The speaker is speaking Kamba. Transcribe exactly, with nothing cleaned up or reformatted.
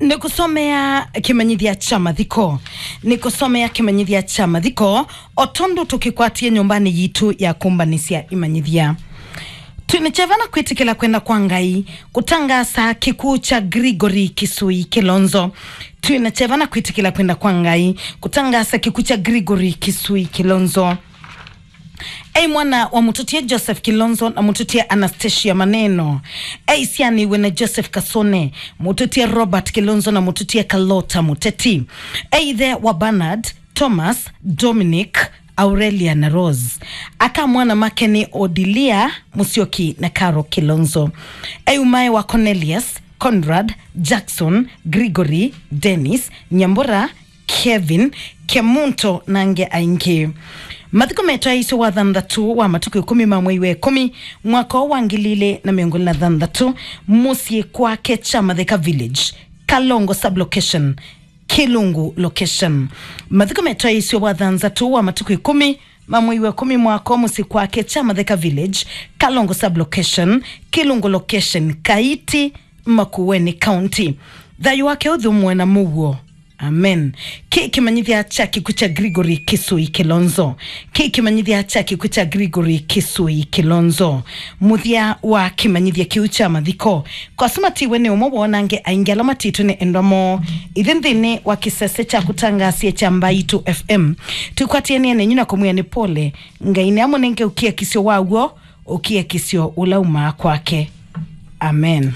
Nĩkũsomea kĩmanyĩthya kya mathiko. Nĩkũsomea kĩmanyĩthya kya mathiko, o tondũ tũkĩkwatie nyũmbanĩ yitũ ya kũmbanĩsya imanyĩthya. Twĩna kyeva na kwĩtĩkĩla kwenda kwa Ngai kũtangaasa kĩkw'ũ kya Gregory Kisui Kilonzo. Twĩna kyeva na kwĩtĩkĩla kwenda kwa Ngai kũtangaasa kĩkw'ũ kya Gregory Kisui Kilonzo. Ei mwana wa mũtũtie Joseph Kilonzo na mũtũtie Anastasia Maneno. Ei syanĩw'e na Joseph Kasone, mũtũtie Robert Kilonzo na mũtũtie Kalota Mũteti. Ei ithe wa Bernard, Thomas, Dominic, Aurelia na Rose. Aka mwana make nĩ Odilia, Musyoki na Caro Kilonzo. Ei umae wa Cornelius, Conrad, Jackson, Gregory, Dennis, Nyambura, Kevin, Kemunto na angĩ aingĩ. Mathiko metwaĩĩswe wa thanthatũ wa matukũ ĩkũmi ma mwei wa ĩkũmi, mwaka wa ngili ilĩ na mĩongo ĩlĩ na thanthatũ, mũsyĩ kwake Kyamatheka Village, Kalongo Sublocation, Kilungu Location. Mathiko metwaĩĩswe wa thanthatũ wa matukũ ĩkũmi ma mwei wa ĩkũmi, mwaka wa mũsyĩ kwake Kyamatheka Village, Kalongo Sublocation, Kilungu Location, Kaiti, Makueni County. Thayũ wake ũthũmũe na mũuo. Amen. Kĩ kĩmanyĩthya kya kĩkw'ũ kya Gregory Kisui Kilonzo. Kĩ kĩmanyĩthya kya kĩkw'ũ kya Gregory Kisui Kilonzo. Mũthya wa kĩmanyĩthya kĩu kya mathiko. Kwa asu matiwe nĩ ũmwe woo na angĩ aingĩ ala matitwe nĩ endwa moo. Ithyĩ nthĩnĩ wa kĩsese kya kũtangaasya kya Mbaitũ F M, twĩkwatĩanĩe nenyu na kũmwĩa nĩ pole. Ngai nĩamũnenge ũkiakisyo wa w'o, ũkiakisyo ũla umaa kwake. Amen.